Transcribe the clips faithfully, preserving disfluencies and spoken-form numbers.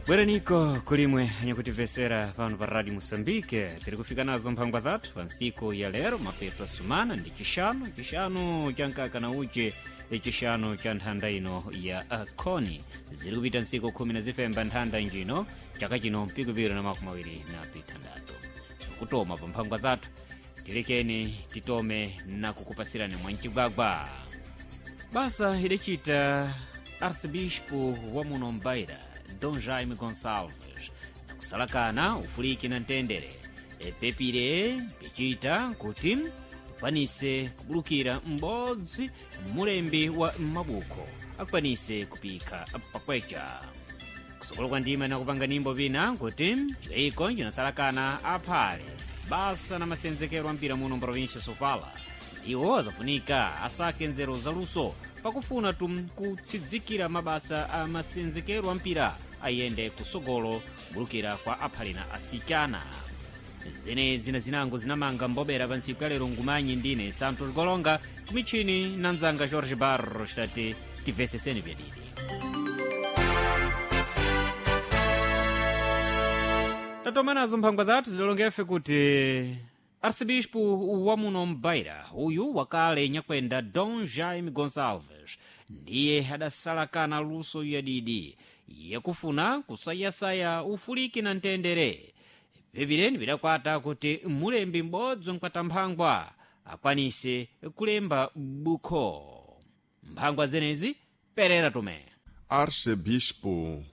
Bweraniko kulimwe anyakutimvesera pano pa Radio Moçambique. Tiri kufika nazo mphangwa zathu pa ntsiku ya lero, mapeto asumana ndi chixanu, chixanu cha nkaka na uche, chixanu cha nthanda ino ya khoni. Ziri kupita ntsiku khumi na zifemba nthanda njino chaka chino mpikupiro na makumi awiri na pithandatu. Kutoma pa mphangwa zathu tilekeni titome na kukupasirani mwancigwagwa. Basa idacita arcebispo wa muno Mbeira, Dom Jaime Gonçalves, nakusalakana ufuliki na mtendere epepire picita kuti tukwanise kubulukira m'bodzi mulembi wa mabuko akwanise kupika pakweca. Kusokolo kwa ndima nakupanga nimbo pina kuti ciyiko cinasalakana aphale basa na masenzekero a mpira muno mprovinsia Sofala iwo azafunika asake nzeru zaluso pakufuna tum kutsidzikira mabasa a masenzekero a mpira ayende kusogolo kubulukira kwa aphalina asikana. Zenezi na zinango zinamanga mbobera pa ntsiku ya lero ngumanyi ndine Santos Golonga kumichini na nzanga Jorge Barros tati timveseseni vyadidi. Tatoma nazo mphangwa zathu zilolongefe kuti arcebispo wa muno Mbeira uyu wakale nyakwenda Dom Jaime Gonçalves ndiye adasalakana luso yadidi yakufuna kusayasaya ufuliki na mtendere. Pepireni pidakwata kuti mulembi m'bodzi mkwatamphangwa akwanise kulemba bukho. Mphangwa zenezi perera tume. Arcebispo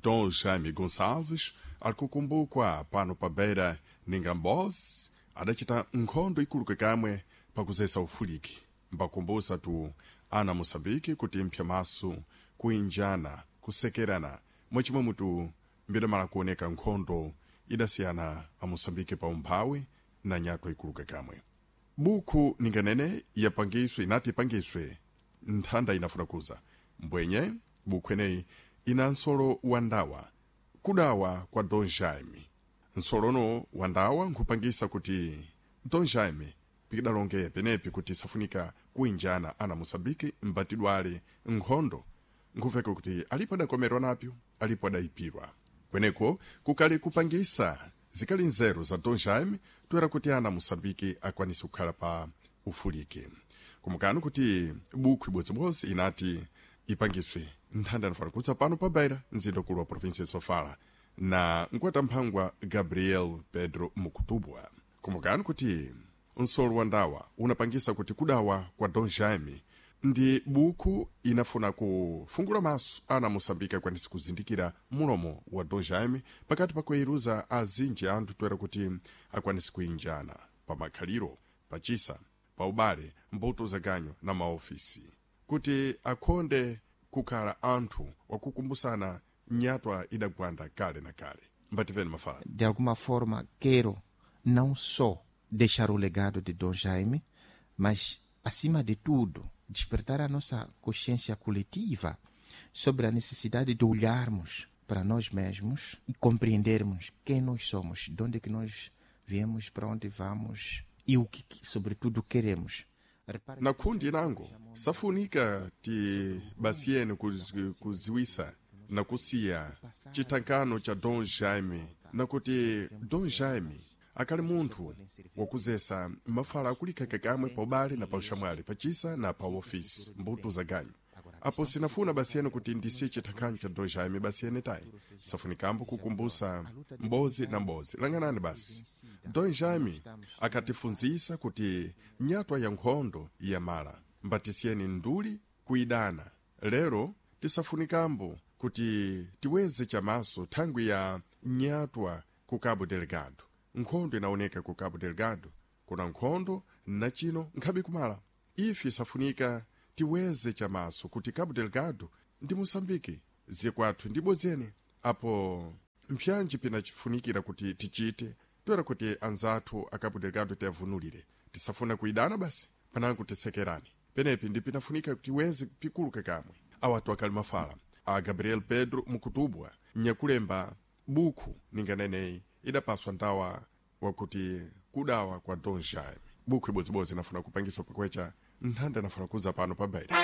Dom Jaime Gonçalves alikukumbukwa pano pa Beira ninga m'bozi adacita nkhondo ikuluke kamwe pakuzesa ufuliki, mbakumbusa tu ana Moçambique kuti mpya maso kuinjana kusekerana mwachimwe mutu mbidamala kuoneka nkhondo idasiyana a Moçambique pa umphawi na nyatwa ikuluke kamwe. Bukhu ninganene yapangiswe inati ipangiswe nthanda inafuna kuza mbwenye bukhu eneyi ina nsolo wa ndawa kudawa kwa Dom Jaime. Nsolono wa ndawa nkhupangisa kuti Dom Jaime pikidalonge penepi kuti safunika kuinjana ana Moçambique mbatidwale nkhondo nkhuveka kuti alipo adakomerwa napyo alipo adayipirwa. Kweneko kukali kupangisa zikali nzeru za Dom Jaime toera kuti ana Moçambique akwanise kukhala pa ufuliki. Kumukani kuti bukhu ibodzibodzi inati ipangiswe nthanda inafuna kutsa pano pa Beira, mzinda ukulu wa provinsia ya Sofala, na mkwatamphangwa Gabriel Pedro Mukutubwa. Kumbukani kuti nsolo wa ndawa unapangisa kuti kudawa kwa Dom Jaime ndi bukhu inafuna kufungula maso ana Moçambique akwanise kuzindikira mulomo wa Dom Jaime pakati pa kuiruza azinji anthu toera kuti akwanise kuinjana pa makhaliro, pachisa, pa ubale, mbuto zaganyo na maofisi kuti akhonde kukhala anthu wakukumbusana nyatwa idagwanda kale na kale. Mbativeni mafala. De alguma forma, quero não só deixar o legado de Dom Jaime, mas, acima de tudo, despertar a nossa consciência coletiva sobre a necessidade de olharmos para nós mesmos e compreendermos quem nós somos, de onde é que nós viemos, para onde vamos e o que, sobretudo, queremos. Na kundi nango safunika ti basiyeni kuz- kuziwisa na kusiya chithankano cha Dom Jaime na kuti Dom Jaime akali munthu wakuzesa mafala akulikhaka kamwe pa ubale na pa uxamwali pachisa na pa ofisi mbuto za ganyu. Apo sinafuna basiyeni kuti ndisiye chithankhanyo cha Dom Jaime basiyeni tayi safunikambo kukumbusa mbozi na mbozi langanani basi. Dom Jaime akatifunzisa kuti nyatwa ya nkhondo yamala mbatisiyeni nduli kuidana lero tisafunikambo kuti tiweze chamaso thangwi ya nyatwa ku Cabo Delgado. Nkhondo inaoneka ku Cabo Delgado kuna nkhondo na chino nkhabe kumala. Ife safunika tiweze chamaso kuti Cabo Delgado ndi Moçambique zikwathu ndi bodzene. Apo mpyanji pinachifunikira kuti tichite toera kuti anzathu a Cabo Delgado tiyavunulire tisafuna kuidana basi panango tisekerani. Penepi ndi pinafunika kuti tiweze pikuluka kamwe. Awatu akali mafala a Gabriel Pedro Mukutubwa nyakulemba bukhu ninganeneyi idapaswa ndawa wakuti kudawa kwa Dom Jaime. Bukhu ibodzibodzi inafuna kupangiswa pakwecha nthanda inafuna kuza pano pa Beira.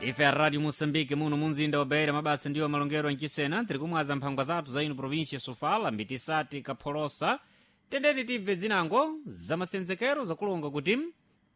Ndife a Rádio Moçambique muno munzinda wa Beira, mabasa ndiwo malongero ancisena tiri kumwaza mphangwa zathu za ino província Sofala, mbitisati kapholosa. Tendeni tibve zinango za masenzekero zakulonga kuti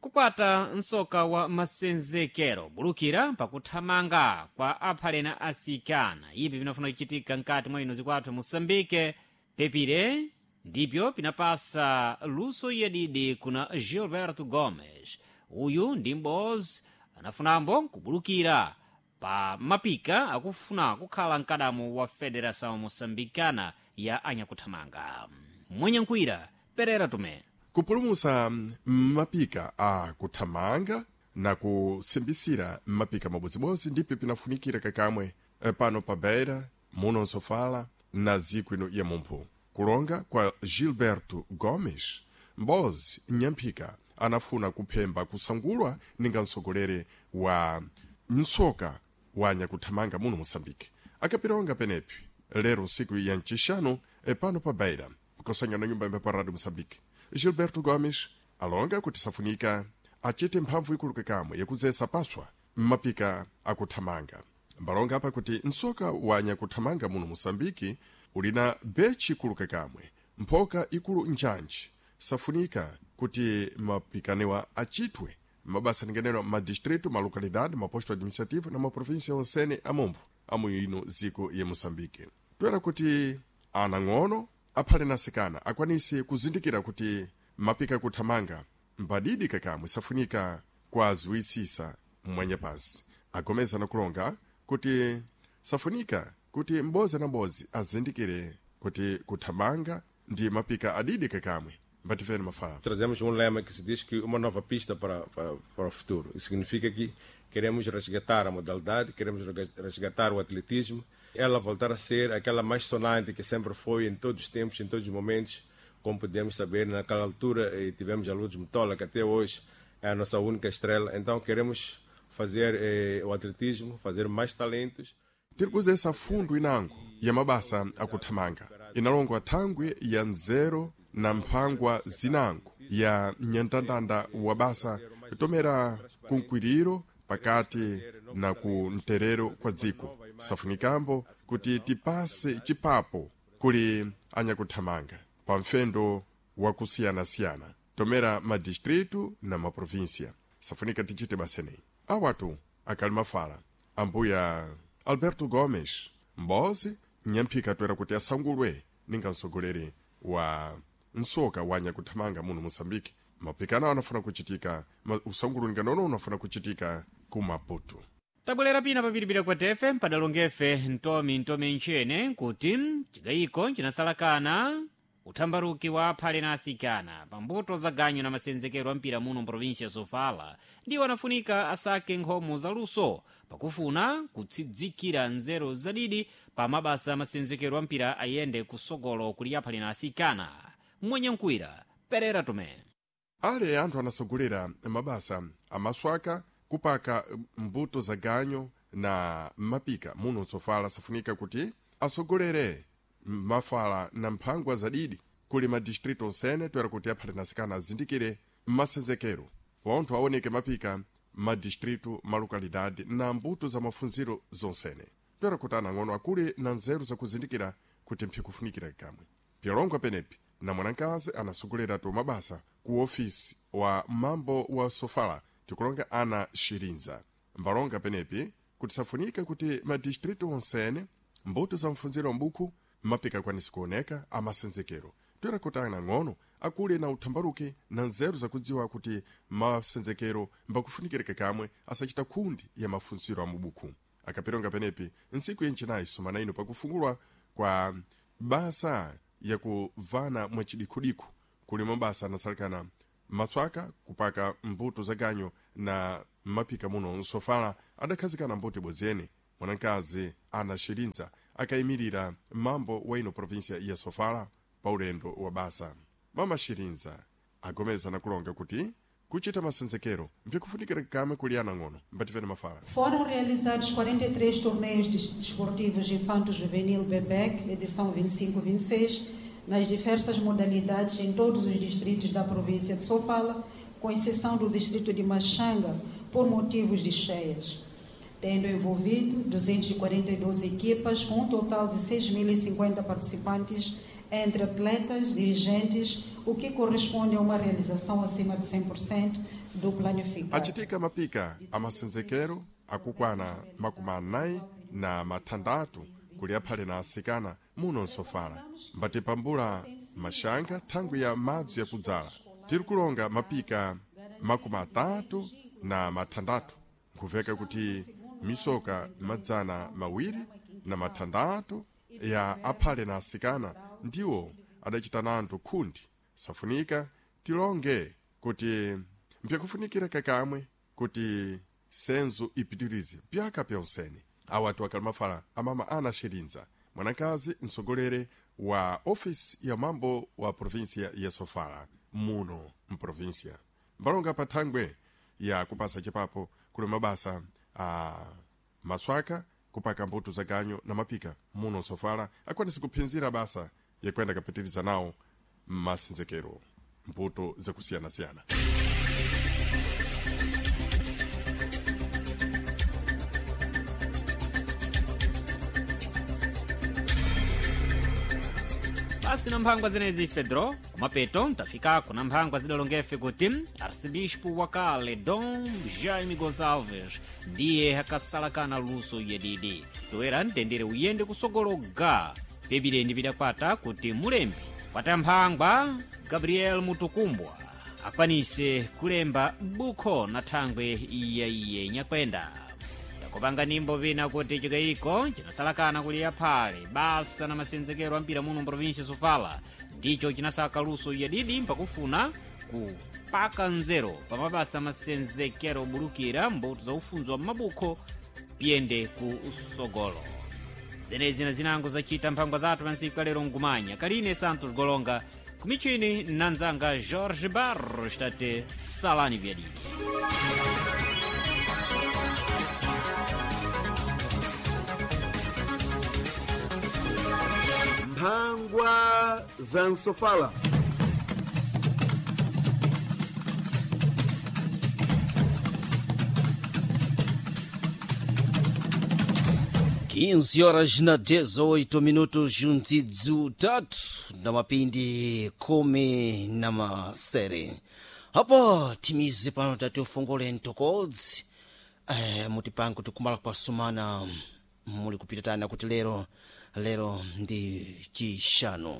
kukwata msoka wa masenzekero bulukira pakuthamanga kwa aphalena asikana ipi pinafuna kuchitika mkati mwa ino zikwathu Moçambique pepire ndipyo pinapasa luso yadidi kuna Gilberto Gomes. Uyu ndi m'bozi anafunambo kubulukira pa mapika akufuna kukhala mkadamo wa Federação Moçambicana ya anyakuthamanga. Mwenyankhwira Perera Tomé. Kupulumusa mapika a kuthamanga na kusimbisira mapika mabodzibodzi ndipo pinafunikira kakamwe eh, pano pa Beira muno nsofala na dziko ino ya mumphu. Kulonga kwa Gilberto Gomes, mbozi nyamphika anafuna kuphemba kusangulwa ninga mtsogoleri wa msoka wa nyakuthamanga muno Moçambique. Akapilonga penepi lero siku ya ncixanu eh, pano pa Beira kusanyana nyumba imba pa Radio Moçambique. Gilberto Gomes alonga kuti safunika achite mphamvu ikulu kakamwe yakuzesa paswa mmapika akuthamanga. Mbalonga apa kuti msoka wa nyakuthamanga muno Moçambique ulina bechi ikulu kakamwe mphoka ikulu njanji. Safunika kuti mapikanewa achitwe mabasa ningeneno madistrito, malocalidade, maposto administrativo na maprovíncia onsene amombo amu ino ziko ya Moçambique. Toera kuti anang'ono aphale nasikana akwanise kuzindikira kuti mapika kuthamanga mbadidi kakamwe safunika kwaziwisisa mwanya pansi. Agomeza nakulonga kuti safunika kuti mbozi na mbozi azindikire kuti kuthamanga ndi mapika adidi kakamwe. Mbatifeni mafala. Trazemos um lema que se diz que uma nova pista para, para, para o futuro. Isso significa que queremos resgatar a modalidade, queremos resgatar o atletismo, ela voltar a ser aquela mais sonante que sempre foi em todos os tempos, em todos os momentos, como podemos saber, naquela altura eh, tivemos a Lourdes Mutola, que até hoje é a nossa única estrela. Então queremos fazer eh, o atletismo, fazer mais talentos. Tiri kuzesa fundo inango ya mabasa akuthamanga inalongwa thangwi ya nzero na mphangwa zinango ya nyandandanda wa basa kutomera kunkwiriro pakati na ku mterero kwa dziko. Safunikambo kuti tipase chipapo kuli anyakuthamanga pa mfendo wakusiyanasiyana tomera madistritu na maprovinsia. Safunika tichite baseneyi. Awatu akali mafala ambuya Alberto Gomes mbozi nyamphika toera kuti asangulwe ninga mtsogoleri wa msoka wa nyakuthamanga muno Moçambique. Mapikano anafuna kuchitika ma, usangulu ninganono unafuna kuchitika ku Maputo. Tabwerera pina papiripira kwa tefe mpadalongefe ntomi ntomi ntchene kuti chigayiko chinasalakana uthambaruki wa aphale na asikana pambuto za ganyo na masenzekero a mpira muno mprovinsia Sofala ndiwo anafunika asake nkhomo zaluso pakufuna kutsidzikira nzeru zadidi pa mabasa masenzekero a mpira ayende kusogolo kuli aphale na asikana. Mwenyankhwira Perera Tomé. Ale anthu anasogolera mabasa amaswaka kupaka mbuto za ganyo na mapika muno Sofala safunika kuti asogolere mafala na mphangwa zadidi kuli madistrito onsene toera kuti aphale nasikana azindikire masenzekero pontho aoneke mapika madistrito, malokalidade na mbuto za mafunziro zonsene toera kuti anang'ono akule na nzeru zakuzindikira kuti mphikufunikira kamwe. Pyalongwa penepi na mwanakazi anasogolera to mabasa ku ofisi wa mambo wa Sofala tikulonga ana Shirinza. Mbalonga penepi kuti safunika kuti madistrito onsene mbuto za mfunziro mbuku mapika akwanise kuoneka amasenzekero toera kuti anang'ono akule na uthambaruki na nzeru zakudziwa kuti masenzekero mbakufunikirika kamwe asachita khundi ya mafunziro a mubuku. Akapironga penepi ntsiku yencenayi sumana ino pakufungulwa kwa basa yakuvana mwachidikhudiku kuli mabasa anasalikana maswaka kupaka mbuto za ganyo na mapika muno Nsofala adakhazikana mbuto ibodzi mwanakazi ana Shirinza akayimirira mambo wa ino provinsia ya Sofala pa ulendo wa basa. Mama Shirinza agomeza na kulonga kuti kuchita masenzekero mpikufunikira kamwe kuli anang'ono. Mbatifeni mafala. Foram realizados quarenta e três torneios desportivos infanto-juvenil B B E C, edição vinte e cinco vinte e seis, nas diversas modalidades em todos os distritos da província de Sofala, com exceção do distrito de Machanga, por motivos de cheias. tendo envolvido duzentas e quarenta e duas equipas, com um total de seis mil e cinquenta participantes entre atletas, dirigentes, o que corresponde a uma realização acima de cem por cento do planificado. Achitika mapika amasenzekero akukwana makumi anayi na mathandatu kuli aphale na asikana muno nsofala mbatipambula maxanga thangwi ya madzi yakudzala tiri kulonga mapika makumi atatu na mathandatu nkuveka kuti misoka madzana mawiri na mathandatu ya aphale na asikana ndiwo adachita nanthu khundi safunika tilonge kuti mpyakufunikira kakamwe kuti senzo ipitirize pyaka pya usene awa atu akali mafala amama ana xerindza mwanakazi msogolere wa ofisi ya mambo wa provinsia ya sofala muno mprovinsia mbalonga pa thangwe ya kupasa chipapo kuli mabasa a maswaka kupaka mbuto za ganyo na mapika muno sofala akwanise kuphinzira basa yakwenda kapitiriza nawo mmasenzekero mbuto zakusiyanasiyana. Basi na mphangwa zenezi fedro kumapeto ntafikako na mphangwa zidalongefe kuti arcebispo wakale Dom Jaime Gonçalves ndiye akasalakana luso yedidi toera mtendere uyende kusogologa pepireni pidakwata kuti mulembi kwata mphangwa Gabriel Mutukumbwa akwanise kulemba bukho na thangwe iyaiye nyakwenda. Takupanga nimbo vina kuti chikayiko chinasalakana kuli aphale basa na masenzekero ampira muno mprovinsia Sofala ndicho chinasaka luso yadidi mpakufuna kupaka nzero pa mabasa masenzekero obulukira mbuto za ufunzo wa mabukho piyende ku usogolo. Zenezi na zinango zachita mphangwa zathu pansiku kalero ngumanya kaline Santos Golonga kumichini nanzanga Jorge Barros tate salani vyadidi. Mphangwa za Nsofala. quinze horas na dezoito minutos juntidzo tatu na mapindi kumi na masere apo timize pano tati ufungule ntokodzi eh, mutipange kuti kumala kwa sumana muli kupita tana kuti lero lero ndi chishanu.